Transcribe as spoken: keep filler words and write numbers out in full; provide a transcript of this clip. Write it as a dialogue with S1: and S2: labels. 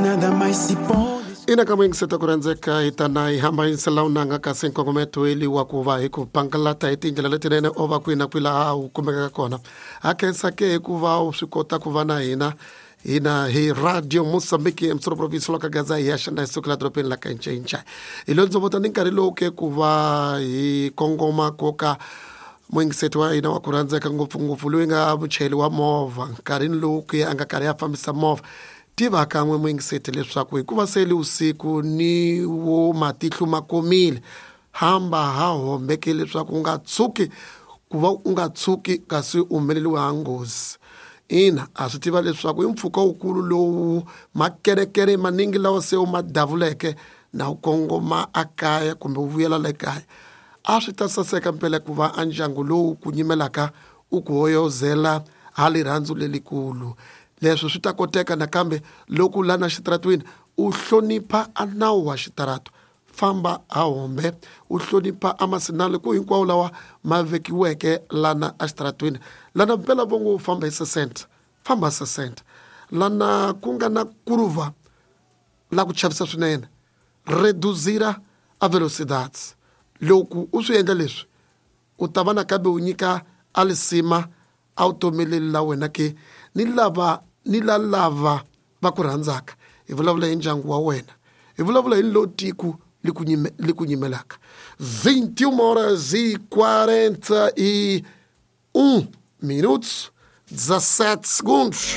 S1: Nada mais se pode.
S2: Ina ka muyingiseta ku rhandzeka hi ta na hi hamba yingisela wu nanga kasi nkongometo eli wa ku va hi ku pangalata hi tindlela letinene o va kwihi na kwihi laha wu kumekaka kona. Ha khensa ke hikuva u swi kota ku va na hina hina hi Radio Mozambique emsoro province la ka Gaza hi ya xana hi sukela dorobeni la ka Ncinca. Hi lo ndzovota ni nkarhi lowu ke ku va hi kongoma koka muyingiseti wa hina wa ku rhandzeka ngopfungopfu loyi nga muchayeri wa movha nkarhini lowu ke a nga karhi a fambisa movha. Tiva kan'we muyingiseti leswaku hikuva se li usiku ni wo matihlo ma komile, hamba ha hombeke leswaku u nga tshuki ku va u nga tshuki kasi u humeleriwa ha nghozi. Ina, a swi tiva leswaku i mpfhuka wukulu lowu makerekere maningi lawa se u ma davuleke na u kongoma a kaya kumbe u vuyela le kaya. A swi ta saseka mpela ku va a ndyangu lowu ku nyimelaka u ku hoyozela ha rirhandzu lelikulu. Leswi swi ta koteka nakambe loko lana xitaratwini u hlonipha a nawu wa xitarato, famba a hombe, u hlonipha a masinale ku hinkwawo lawa ma vekiweke lana a xitaratwini. Lana mpela vongo u famba hi sesenta, famba sesenta. Lana ku nga na kuruva la ku chavisa swinene, reduzira a velocidade. Loko u swi endla leswi u ta va nakambe u nyika a lisima a vutomi leri la wena ke ni lava ni la lava va ku rhandzaka. Hi vulavula hi ndyangu wa wena, hi vulavula hi lo tiko li ku nyime, li ku nyimelaka. vinte e uma horas e quarenta e um minutos, dezassete segundos.